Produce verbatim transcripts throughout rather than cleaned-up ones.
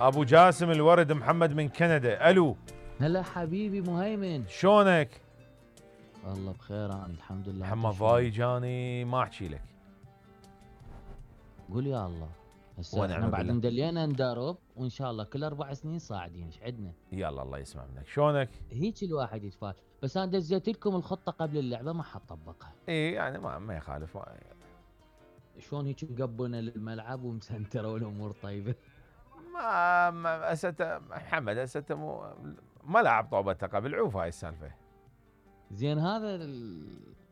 ابو جاسم الورد محمد من كندا. الو هلا حبيبي مهيمن، شلونك؟ والله بخير انا الحمد لله. محمد ضايج اني ما احكي لك. قول يا الله. هسه احنا بعد مدلينا ندرب وان شاء الله كل اربع سنين صاعدين. ايش عندنا؟ يلا الله يسمع منك. شلونك؟ هيك الواحد يتفائل. بس انا دزيت لكم الخطه قبل اللعبه ما حطبقها. اي يعني ما ما يخالف. ما شلون هيك مقبونه للملعب ومسنتره والامور طيبه. ما ما استه محمد استه مو ما لعب طوبته قبل. عوف هاي السالفه. زين هذا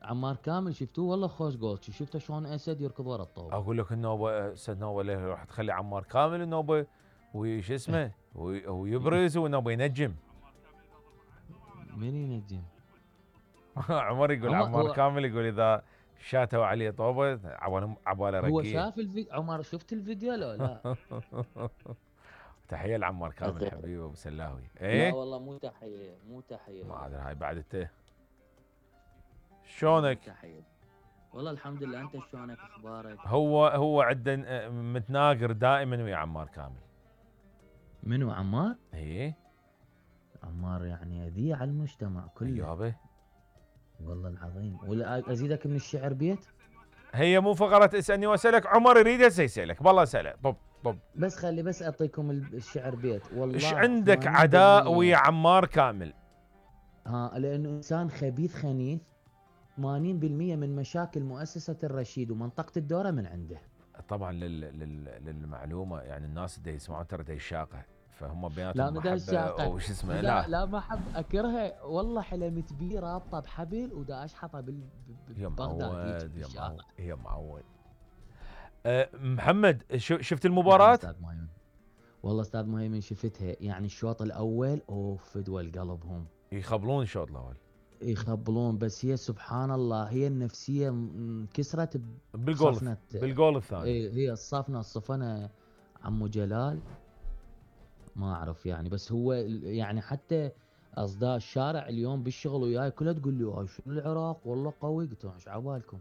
عمار كامل شفتوه والله خوش جول. شفته شلون اسد يركض ورا الطوبه. اقول لك النوبه اسد نوبه ليه راح تخلي عمار كامل النوبه وش اسمه ويبرز ونوبه ينجم. من ينجم؟ عمر يقول عمار كامل يقول اذا شاتوا عليه طوبه عباله عباله رقيه. هو شاف الفيديو. عمر شفت الفيديو لو لا؟ تحيه لعمار كامل حبيبي ابو سلاوي. ايه لا والله مو تحيه مو تحيه. ما ادري هاي بعد انت شلونك؟ تحيه والله الحمد لله. انت شلونك اخبارك؟ هو هو عندنا متناقر دائما ويا عمار كامل. منو عمار؟ ايه عمار يعني اذية على المجتمع كله يابا والله العظيم. ولا ازيدك من الشعر بيت؟ هي مو فقرة اسألني واسألك. عمر يريد هسه يسألك. بالله اسأله. طب طب بس خلي بس اعطيكم الشعر بيت. والله ايش عندك عداء ويا عمار كامل؟ ها لانه انسان خبيث خنيف. ثمانين بالمئة من مشاكل مؤسسة الرشيد ومنطقة الدورة من عنده. طبعا لل... لل... للمعلومة يعني الناس اللي يسمعون ترى دا الشاقة فهم بيناتهم محبة وش اسمه. لا لا, لا ما احب اكرهها والله. حلمت بيه رابطه بحبل ودا اشحطها بال يا معود يا معود يا معود. أه محمد شفت المباراة؟ استاذ مهيمن والله استاذ مهيمن شفتها. يعني الشوط الاول اوف فدوى القلب. هم يخبلون الشوط الاول يخبلون. بس هي سبحان الله هي النفسيه انكسرت بالجول بالجول الثاني. هي الصفنه الصفنه عمو جلال ما اعرف يعني. بس هو يعني حتى اصداء الشارع اليوم بالشغل وياي كلها تقول لي هاي شنو العراق والله قوي. قلت لهم ايش عبالكم؟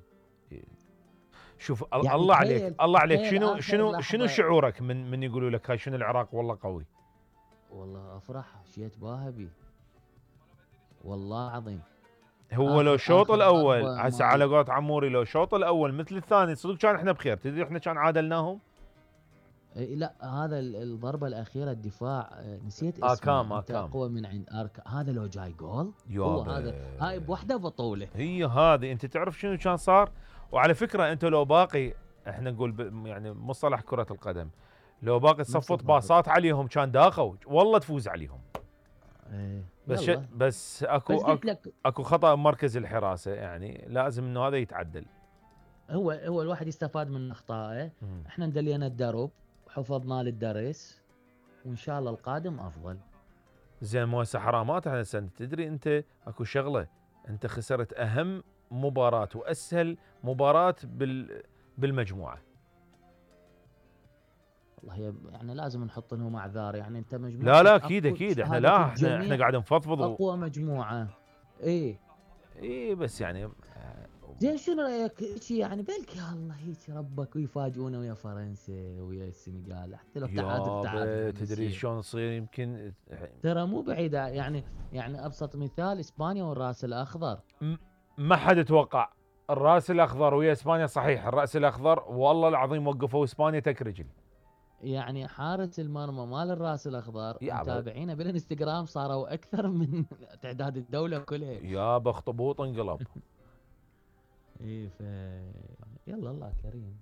شوف يعني الله عليك الله عليك شنو شنو شنو شعورك من من يقولوا لك هاي شنو العراق والله قوي؟ والله افرح شيت باهبي والله عظيم. هو لو الشوط الاول هسه على قولة عموري لو الشوط الاول مثل الثاني صدق كان احنا بخير. تدري احنا كان عادلناهم. لا هذا الضربه الاخيره الدفاع نسيت اسمه. اكام اكام اقوى من عند اركا. هذا لو جاي جول هو هذا هاي بوحده بطوله. هي هذه انت تعرف شنو كان صار. وعلى فكره انت لو باقي احنا نقول يعني مصطلح كره القدم لو باقي تصفط باصات عليهم كان داخوا والله تفوز عليهم. ايه بس بس اكو بس أكو, اكو خطا مركز الحراسه يعني لازم انه هذا يتعدل. هو هو الواحد يستفاد من اخطائه. احنا ندلينا الدرب وحفظنا للدرس وان شاء الله القادم افضل. زين مو هسه حرامات احنا سنة. تدري انت اكو شغله انت خسرت اهم مباراه واسهل مباراه بال بالمجموعه. والله يعني لازم نحط لهم اعذار. يعني انت مجموعه لا لا اكيد اكيد احنا لا احنا احنا قاعد نفضفض اقوى مجموعه. ايه ايه بس يعني زين شنو رايك هيك يعني بلكي الله هيك ربك ويفاجئونا ويا فرنسا ويا السنغال حتى لو تعادل تعادل. تدري شلون يصير يمكن ترى مو بعيده. يعني يعني ابسط مثال اسبانيا والراس الاخضر. ما حد يتوقع الراس الاخضر ويا اسبانيا. صحيح الراس الاخضر والله العظيم وقفوا اسبانيا تك رجل. يعني حارس المرمى مال الراس الاخضر متابعينه بالانستغرام صاروا اكثر من تعداد الدوله كلها. يا بخطبوط انقلب. ايه ف يلا الله كريم.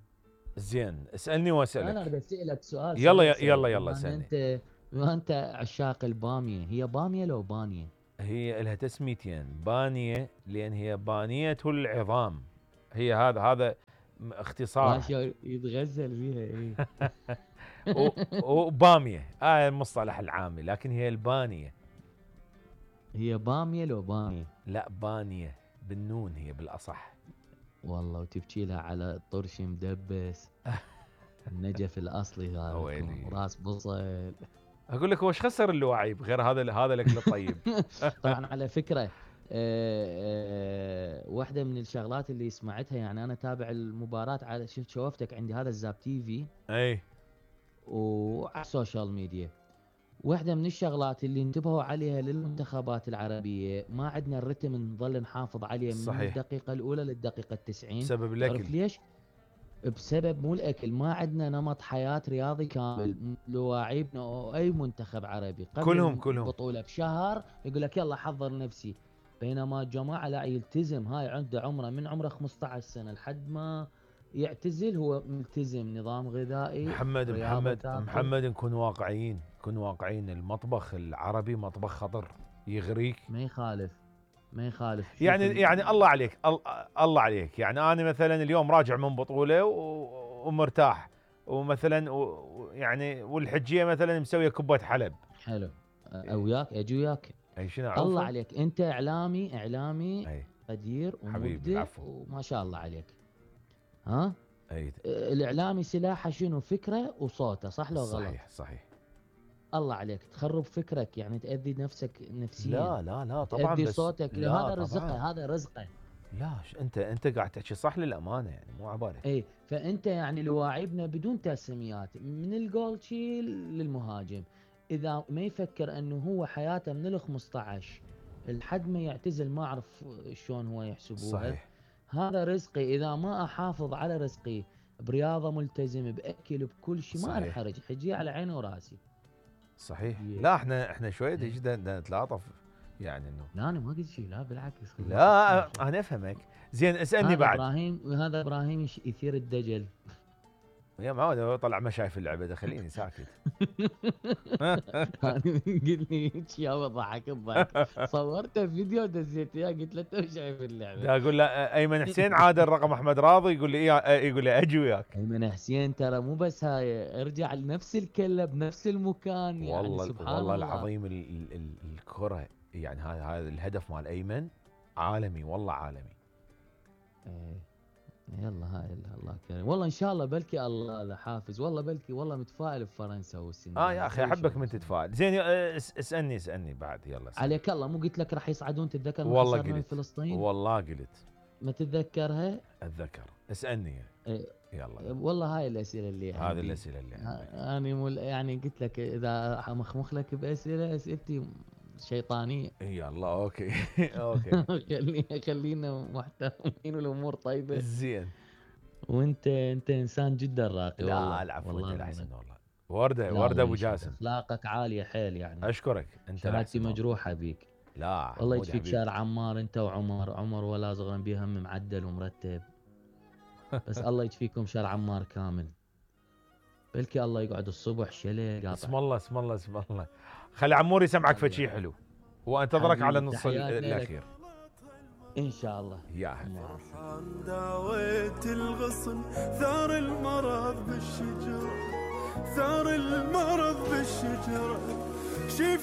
زين اسالني واسالك. انا بدي اسالك سؤال. يلا يلا يلا اسالني. انت ما انت عشاق الباميه. هي باميه لو بانيه؟ هي لها تسميتين. بانيه لان هي بانيه العظام. هي هذا هذا اختصار يتغزل فيها. ايه وباميه هاي آه المصطلح العامي. لكن هي البانيه. هي باميه لو بانيه؟ لا بانيه بالنون هي بالاصح. والله وتبكي لها على طرش مدبس. النجف الاصلي هذا راس بصل. اقول لك هو ايش خسر اللواعيب غير هذا هذا الاكل الطيب. طبعا على فكره أه أه واحده من الشغلات اللي سمعتها. يعني انا تابع المباراه على شفت شوفتك عندي هذا الزاب تي في. اي وعلى السوشيال ميديا. واحدة من الشغلات اللي انتبهوا عليها للمنتخبات العربية، ما عندنا الرتم نظل نحافظ عليه من صحيح. الدقيقة الأولى للدقيقة التسعين. بسبب تعرف الاكل. ليش؟ بسبب مو الأكل، ما عندنا نمط حياة رياضي كامل. لواعيبنا أو أي منتخب عربي قبل كلهم كلهم البطولة بشهر يقول لك يلا حضر نفسي، بينما الجماعة لا يلتزم. هاي عنده عمره من عمره خمسة عشر سنة لحد ما يعتزل هو ملتزم، نظام غذائي. محمد رياضة محمد تاكل. محمد نكون واقعيين، نكون واقعيين. المطبخ العربي مطبخ خطر، يغريك. ما يخالف ما يخالف. شوف يعني ال- يعني الله عليك، ال- الله عليك. يعني انا مثلا اليوم راجع من بطوله و- ومرتاح، ومثلا و- يعني والحجيه مثلا مسويه كوبايه حلب. حلو. او وياك اجي وياك. اي شنو الله عوفه؟ عليك، انت اعلامي اعلامي اي قدير حبيبي، ومبدع العفو. وما شاء الله عليك. ها اي الاعلامي سلاحه شنو؟ فكره وصوته، صح لو غلط؟ صحيح صحيح. الله عليك، تخرب فكرك يعني تأذي نفسك نفسيا. لا لا لا طبعا، تأذي بس صوتك، لا هذا طبعاً. رزقه، هذا رزقه. لا ش- انت انت قاعد تحكي صح للامانه، يعني مو عبالك. اي فانت يعني لواعبنا بدون تسميات، من الجول شي للمهاجم، اذا ما يفكر انه هو حياته من ال خمسطعش لحد ما يعتزل، ما اعرف شلون هو يحسبوها. صحيح. هذا رزقي، اذا ما احافظ على رزقي برياضه ملتزم باكل بكل شيء ما صحيح. انحرج، حجي على عيني وراسي. صحيح. يه. لا احنا احنا شويه يه. جدا نتلاطف، يعني انه لا انا ما قلت شيء، لا بالعكس. لا انا افهمك. زين اسالني هذا بعد. ابراهيم، وهذا ابراهيم يش- يثير الدجل. يا معود طلع ما شايف اللعبه ده، خليني ساكت. قال لي هيك يا ضحك الضحك. صورته فيديو دزيته اياه، قلت له انت شايف اللعبه. دا اقول له ايمن حسين عادل رقم احمد راضي، يقول لي إيه، يقول لي اجي وياك. ايمن حسين ترى مو بس هاي، ارجع لنفس الكله بنفس المكان. يعني والله سبحان والله الله العظيم ال ال ال الكره، يعني هذا هذا الهدف مال ايمن عالمي، والله عالمي. ايه يلا هاي الله كريم، والله ان شاء الله بلكي الله له حافز، والله بلكي والله متفائل بفرنسا والسنغال. اه يا اخي احبك من تتفائل. زين آه، اس- اسالني اسالني بعد، يلا اسألني. عليك الله، مو قلت لك راح يصعدون؟ تتذكر ما والله خسرنا من قلت، فلسطين؟ والله قلت ما تتذكرها؟ اتذكر. اسالني إيه. يلا. والله هاي الاسئله اللي هذه عندي. الاسئله اللي عندي. ها- انا مول يعني قلت لك اذا مخمخ لك باسئله، اسئلتي شيطانيه. يلا اوكي. اوكي خلينا خلينا محترمين والامور طيبه. زين. وانت انت انسان جدا راقي. لا والله العفو، والله انت العظيم. الاحسن والله. ورده لا ورده الله ابو يشفيك. جاسم، اخلاقك عاليه حيل يعني. اشكرك. انت شهادتي الاحسن والله. مجروحه بيك. لا والله حمودي يشفيك حبيبي. شارع عمار، انت وعمر. عمر ولا صغر بيه هم معدل ومرتب. بس الله يشفيكم شارع عمار كامل. بلكي الله يقعد الصبح شلي قاطع. اسم الله اسم الله اسم الله. خلي عمور يسمعك فد شيء حلو، وانتظرك على حبيبي، النص تحياتي لك. الاخير. ان شاء الله. يا حبيبي. فرحان داويت الغصن، ثار المرض بالشجرة، ثار المرض بالشجرة. شيف